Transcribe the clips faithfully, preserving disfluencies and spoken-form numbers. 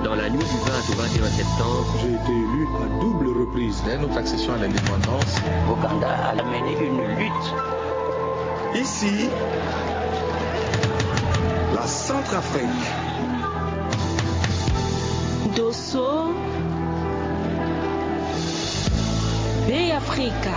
Dans la nuit du vingt au vingt et un septembre, j'ai été élu à double reprise. Dès notre accession à l'indépendance, Ouganda a mené une lutte. Ici, la Centrafrique. Dosso, Bê Afrika.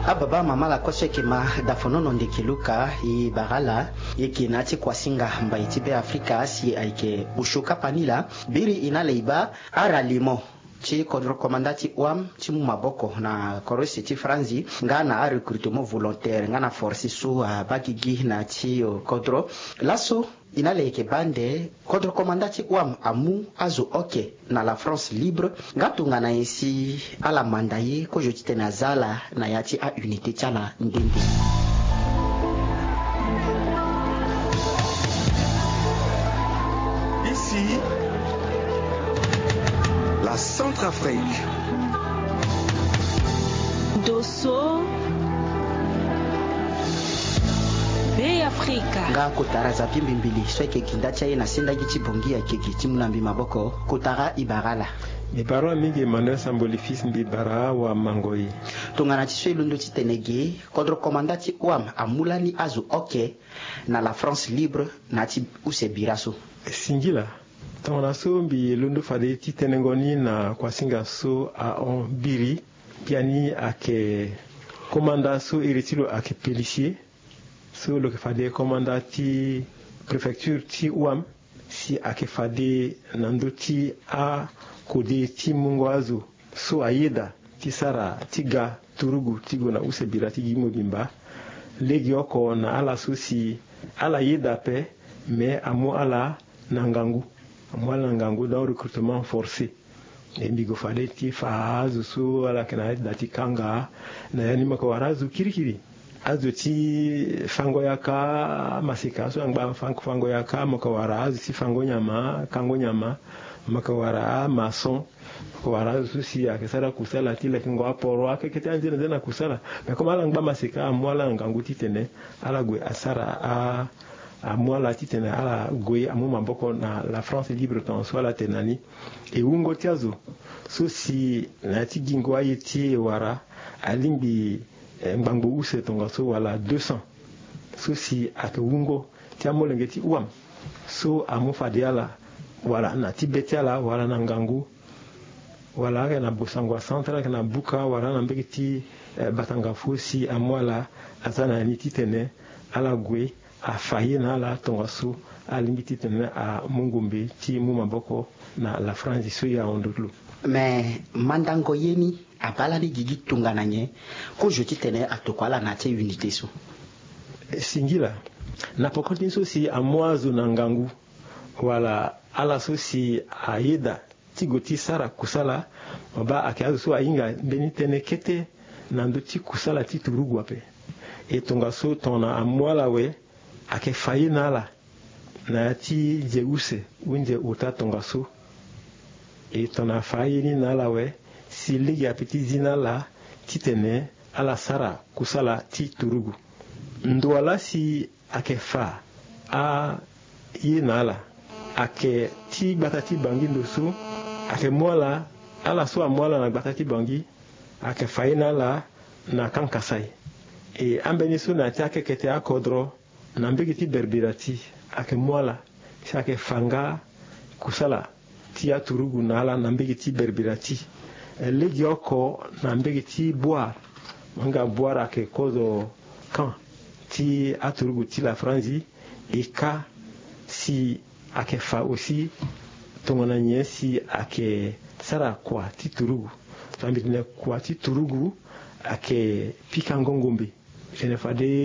Ababa mama la koseke ma dafonono ndeke luka i bagala. Yeke na ti kuasinga mbai ti Bê Afrika si ayeke osio kapa ni laa. Biri i na ala i baa aralimo ti kodro komanda ti wam ti mu maboko na korose ti Franzi nga na arecrutement volontaire nga na force so abaa gigi na ti kodro. Laso i na ala yeke baa nde kodro komanda ti wam amu azo oke na la France libre nga tongana nyen si ala manda ye kozo titene aza ala na ya ti aunité ti ala nde nde. Ici, la Centrafrique. Dosso, Bê Afrika. Nga kotara Zapi Mbimbili so ayeke gi nda ti aye na sendagi ti Bongi ayeke gi ti mu na mbi maboko. Kotara i bara ala. Mbi bara mingi Emmanuel Samboli fils, mbi bara wa mango ye. Tongana ti so e londo titene ge kodro komanda ti wam amu lani azo oke na la France libre na ya ti use bira so. Singila. Tongana so mbi londo fade ti tenengo ni na kuasinga so ahon biri, biani ayeke komanda so iri ti lo ayeke Pélissier, so lo yeke fade komanda ti préfecture ti wam, si ayeke fade na ndö ti akode ti mungo azo so ayeda ti sara ti ga turugu ti gue na use bira ti gi mobimba. Legeoko na ala so si ala yeda ape, me amu ala na ngangu. Amu ala na ngangu dans recrutement forcé. E mbi gue fade ti fa azo so ala yeke na yeda ti kanga na ya ni, mo yeke wara azo kirikiri. Azo ti fango yaka, amaseka so angba fango yaka, mo yeke wara azo ti fango nyama, kango nyama, mo yeke wara amaçon, mo yeke wara azo so si ayeke sara kusala ti lekengo aporo, akeke ti anzene nzene na kusala. Mais comme ala ngba maseka, amu ala na ngangu titene ala gue asara a, amu ala titene ala gue amu maboko na la France libre tongaso ala tene na ni. E wungo ti azo so si na ya ti gingo aye ti e wara alingbi eh, ngbangbo use tongaso wala deux cents. So si ayeke wungo ti amolenge ti wam so amu fade ala, wala na ti be ti ala, wala na ngangu, wala ayeke na Bossangoa Centre, ayeke na Buka, wala na mbege ti eh, Batanga fo si amu ala aza na ni titene ala gue afa ye na ala tongaso alingbi titene amu ngombe ti mu maboko na la France so e ahon ndo ti lo. Me mandango ye ni abaa lani gigi tongana nyen kozo titene atokua ala na ya ti unité so? Singila. Na poko ti so si amu azo na ngangu, wala ala so si ayeda ti gue ti sara kusala, mo baa ayeke azo so ahinga mbeni tënë kete na ndö ti kusala ti turugu ape. E tongaso tongana amu ala awe, ayeke fa ye na ala na ya ti nze use, hunze ota tongaso. E tongana afa aye ni na ala awe, si lege ape ti zi na ala titene ala sara kusala ti turugu. Ndo wa laa si ayeke fa aye na ala, ayeke ti gbata ti Bangui ndo so, ayeke mu ala, ala so amu ala na gbata ti Bangui, ayeke fa ye na ala na Kankassai. E ambeni so na ya ti akeke ti akodro, na mbege ti Berbirati, ayeke mu ala si ayeke fa nga kusala ti aturugu na ala na mbege ti Berbirati. Eh, legeoko na mbege ti Bouar, mo hinga Bouar ayeke kozo camp ti aturugu ti la Franzi. E ka si ayeke fa aussi tongana nyen si ayeke sara kua ti turugu. Tongana mbi tene kua ti turugu, ayeke pikango ngombe. Tene fade